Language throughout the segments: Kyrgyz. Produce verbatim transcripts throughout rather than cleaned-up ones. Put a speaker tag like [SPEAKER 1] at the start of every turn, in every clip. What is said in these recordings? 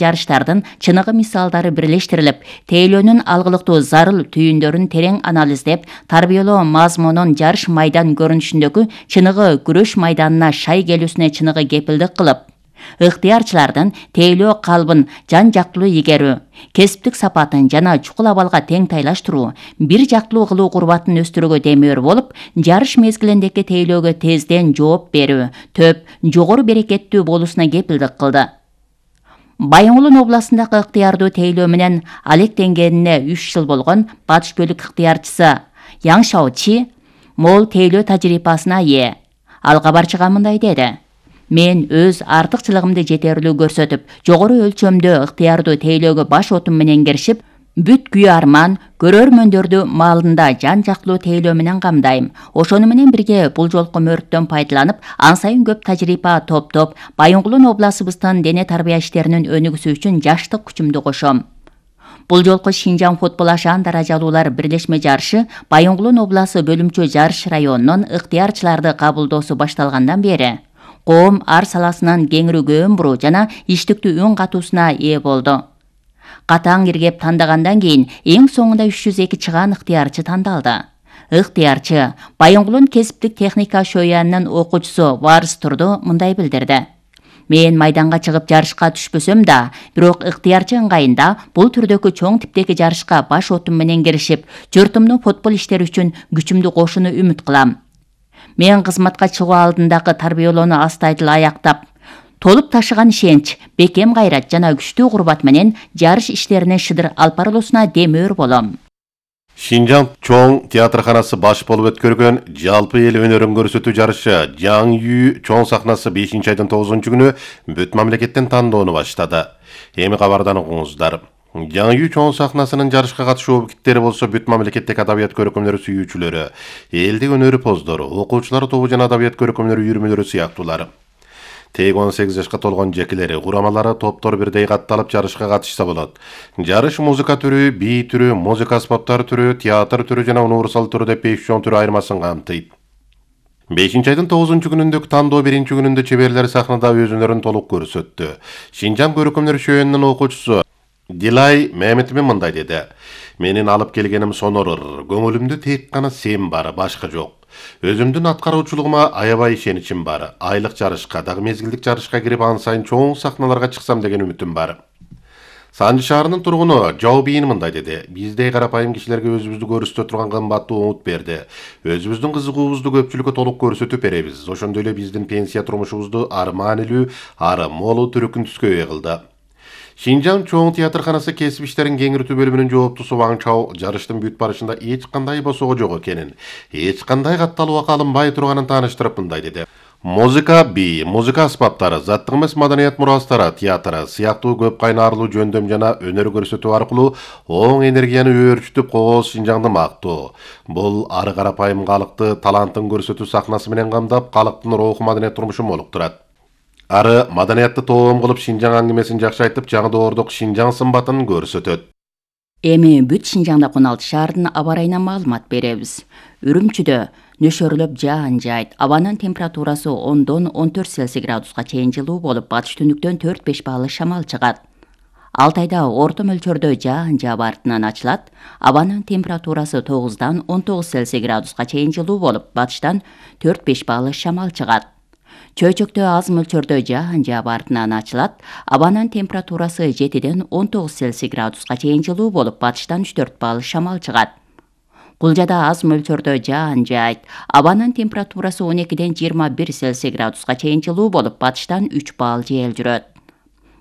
[SPEAKER 1] жарыштардын чыныгы мисалдары бирлештирилип, тейлөөнүн алгылыктуу зарыл түйүндөрүн терең анализдеп, тарбиялоо мазмунун жарыш майдан көрүнүшүндөгү чыныгы күрөш майданына шай келүүсүнө чыныгы кепилдик кылып, ыктыярчылардын тейлөө калыбын жан жактылуу игерүү, кесиптик сапатын жана чукул абалга тең тайлаштыруу, бир жактылуу кылуу курбатын өстүрүүгө демеур болуп, жарыш мезгилиндеги тейлөөгө тезден жооп берүү, төп, жогору берекеттүү болуусуна кепилдик кылды. Байоңулун областындагы ыктыярдуу тейлөө менен алектенгенине үч жыл болгон Батыш көлүк ыктыярчысы Яң Шаочи мол тейлөө тажрыйбасына ээ. Ал кабарчыга мындай деди: Мен өз артыкчылыгымды жетерлүү көрсөтүп, жогору өлчөмдө ыктыярдуу тейлөөгө баш отум менен киришип, бүт күйүү арман, көрөрмөндөрдү маалында жан жактылуу тейлөө менен камдайм. Ошону менен бирге бул жолку мөрттөн пайдаланып, ан сайын көп тажрыйба топтоп, Байоңгулун областыбыздын дене тарбия иштеринин өнүгүүсү үчүн жаштык күчүмдү кошом. Бул жолку Шинжаң футбол ашаан даражалуулар бирлешме жарышы Байоңгулун обласы бөлүмчө жарыш районунун ыктыярчыларды кабылдоосу башталгандан бери коом ар саласынан кеңирүүгө буруу жана иштиктүү үн катуусуна ээ болду. Катаң иргеп тандагандан кийин эң соңунда үч жүз эки чыгаан ыктыярчы тандалды. Ыктыярчы Байоңгулун кесиптик техника шоянынын окуучусу Варыс Турду мындай билдирди: Мен майданга чыгып жарышка түшпөсөм да, бирок ыктыярчы ыңгайында бул түрдөгү чоң типтеги жарышка баш отум менен киришип, журтумдун футбол иштери үчүн күчүмдү кошууну үмүт кылам. Мен кызматка чыгуу алдындагы тарбиялоону астайдыл аяктап, толуп ташыган ишенч, бекем кайрат жана күчтүү курбат менен жарыш иштерине шыдыр алып барылуусуна демөөр болом.
[SPEAKER 2] Шинжаң чоң театрканасы баш болуп өткөргөн жалпы эл өнөрүн көрсөтүү жарышы Жаң Үй чоң сахнасы бешинчи айдын тогузунчу күнү бүт мамлекеттен тандоону баштады. Эми кабардан угуңуздар. Жаң Үй чоң сахнасынын жарышка катышуу объекттери болсо бүт мамлекеттик адабият көркөмдөрү сүйүүчүлөрү, элдик өнөрү поздору, окуучулар тобу жана адабият көркөмдөрү үйүрмөлөрү сыяктуулар. Тег он сегиз жашка толгон жекелери, курамалары, топтор бирдей катталып жарышка катышса болот. Жарыш музыка түрү, бий түрү, музыка аспаптар түрү, театр түрү жана универсал түрү деп беш чоң түрү айырмасын камтыйт. бешинчи айдын тогузунчу күнүндө тандоо биринчи күнүндө чеберлер сахнада өз өнөрүн толук көрсөттү. Шинжаң көркөмдөр шөөнүнүн окуучусу Дилай Меметовин мындай деди: Менин алып келгеним сонорор, көңүлүмдө тек гана сен бар, башка жок. Өзүмдүн аткаруучулугума аябай ишеничим бар. Айлык жарышка, дагы мезгилдик жарышка кирип ан сайын чоң сахналарга чыксам деген үмүтүм бар. Санжы шаарынын тургуну Жау Бийин мындай деди: Биздей карапайым кишилерге өзүбүздү көрсөтө турган кымбаттуу умут берди. Өзүбүздүн кызыгуубузду көпчүлүккө толук көрсөтүп беребиз. Ошондой эле биздин пенсия турмушубузду арманилүү, ары молу түрүкүн түскө кылды. Шинжаң чоң театрканасы кесип иштерин кеңиртүү бөлүмүнүн жооптусу Ваң Чао жарыштын бүт барышында эч кандай босого жок экенин, эч кандай катталууга алынбай турганын тааныштырып мындай деди: Музыка, бий, музыка аспаптары, заттык эмес маданият мурастары, театр сыяктуу көп кайнарлуу жөндөм жана өнөр көрсөтүү аркылуу оң энергияны өөрчүтүп кооз Шинжаңды мактоо. Бул ары карапайым калыкты талантын көрсөтүү сахнасы менен камдап, калктын руху маданият турмушун молуктурат. Ары маданиятты тоом кылып Шинжаң аңгемесин жакшы айтып, жаңы доордук Шинжаң сымбатын көрсөтөт.
[SPEAKER 1] Эми бүт Шинжаңда он алты шаардын аба ырайына маалымат беребиз. Үрүмчүдө нөшөрлөп жаан жайт, абанын температурасы ондон он төрт Цельсий градуска чейин жылуу болуп, батыш түндүктөн төрт беш баалы шамал чыгат. Алтайда орто мөлчөрдө жаан жаап артынан ачылат, абанын температурасы тогуздан он тогуз Цельсий градуска чейин жылуу болуп, батыштан төрт беш баалы шамал чыгат. Чөйчөктө аз мөлчөрдө жаан жаап артынан ачылат, абанын температурасы жетиден он тогуз Цельсий градуска чейин жылуу болуп, батыштан үч төрт баалы шамал чыгат. Кулжада аз мөлчөрдө жаан жайт, абанын температурасы он экиден жыйырма бир Цельсий градуска чейин жылуу болуп, батыштан үч баал жел жүрөт.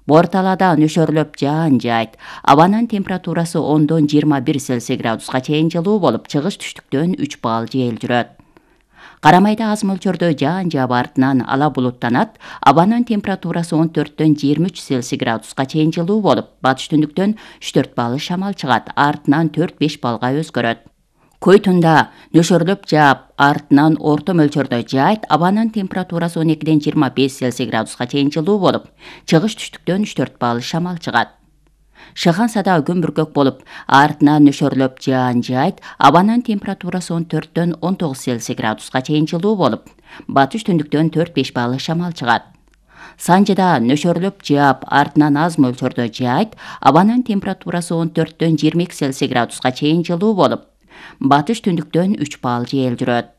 [SPEAKER 1] Борталада нөшөрлөп жаан жайт, абанын температурасы ондон жыйырма бир Цельсий градуска чейин жылуу болуп, чыгыш түштүктөн үч баал жел жүрөт. Карамайда аз мөлчөрдө жаан жаап артынан ала булуттанат, абанын температурасы он төрттөн жыйырма үч Цельсий градуска чейин жылуу болуп, батыш түндүктөн үч төрт баалы шамал чыгат, артынан төрт беш баалга өзгөрөт. Койтунда нөшөрлөп жаап, артынан орто мөлчөрдө жайт, абанын температурасы он экиден жыйырма беш Цельсий градуска чейин жылуу болуп, чыгыш түштүктөн үч төрт баалы шамал чыгат. Шыхансада күн бүркөк болуп, артынан нөшөрлөп жаан жайт, абанын температурасы он төрттөн он тогуз Цельсий градуска чейин жылуу болуп, батыш түндүктөн төрт беш баалы шамал чыгат. Санжыда нөшөрлөп жаап, артынан аз мөлчөрдө жаайт, абанын температурасы он төрттөн жыйырма эки Цельсий градуска чейин жылуу болуп, батыш түндүктөн үч балл жел жүрөт.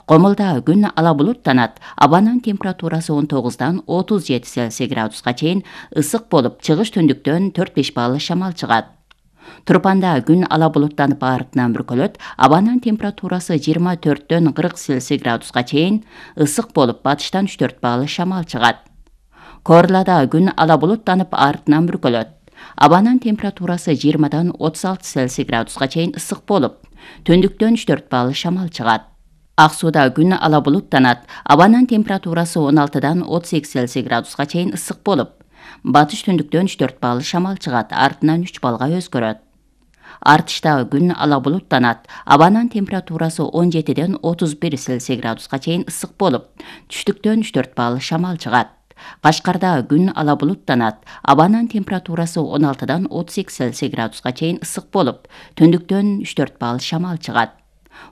[SPEAKER 1] Комулда күн ала булуттанат, абанын температурасы он тогуздан отуз жети Цельсий градуска чейин ысык болуп, чыгыш түндүктөн төрт беш балл шамал чыгат. Турпанда күн ала булуттанып артынан бүркөлөт, абанын температурасы жыйырма төрттөн кырк Цельсий градуска чейин ысык болуп, батыштан үч төрт балл шамал чыгат. Корлада күн ала булуттанып артынан бүркөлөт. Абанын температурасы жыйырмадан отуз алты Цельсий градуска чейин ысык болуп, түндүктөн үч төрт балл шамал чыгат. Ак-Сууда күн ала булуттанат, абанын температурасы он алтыдан отуз эки Цельсий градуска чейин ысык болуп, батыш түндүктөн үч төрт балл шамал чыгат, артынан үч баллга өзгөрөт. Артышта күн ала булуттанат, абанын температурасы он жетиден отуз бир Цельсий градуска чейин ысык болуп, түштүктөн үч төрт балл шамал чыгат. Кашкарда күн ала булуттанат, абанын температурасы он алтыдан отуз эки Цельсий градуска чейин ысык болуп, түндүктөн үч төрт балл шамал чыгат.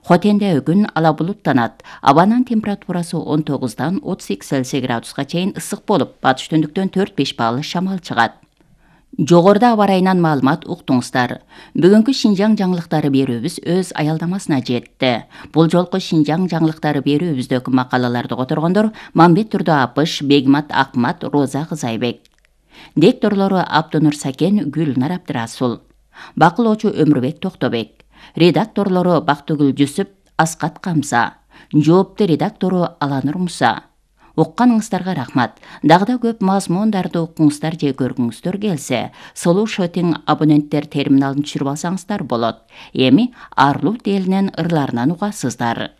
[SPEAKER 1] Хотенде күн ала булуттанат, абанын температурасы он тогуздан отуз эки Цельсий градуска чейин ысык болуп, батыш түндүктөн төрт беш балл шамал чыгат. Жогоруда аба ырайынан маалымат уктуңуздар. Бүгүнкү Шинжаң жаңылыктары берүүбүз өз аялдамасына жетти. Бул жолку Шинжаң жаңылыктары берүүбүздөгү макалаларды которгондор Мамбет Турду Апыш, Бегмат Акмат, Роза Кызайбек. Дикторлору Абдунур Сакен, Гүлнар Абдырасул. Бакылоочу Өмүрбек Токтобек. Редакторлору Бактыгүл Жүсүп, Аскат Камса. Жоопту редактору Аланур Муса. Укканыңыздарга рахмат. Дагы да көп мазмундарды укуңуздар же көргүңүздөр келсе, Solu Shopping абоненттер терминалын түшүрүп алсаңыздар болот. Эми Арлут элинин ырларынан угасыздар.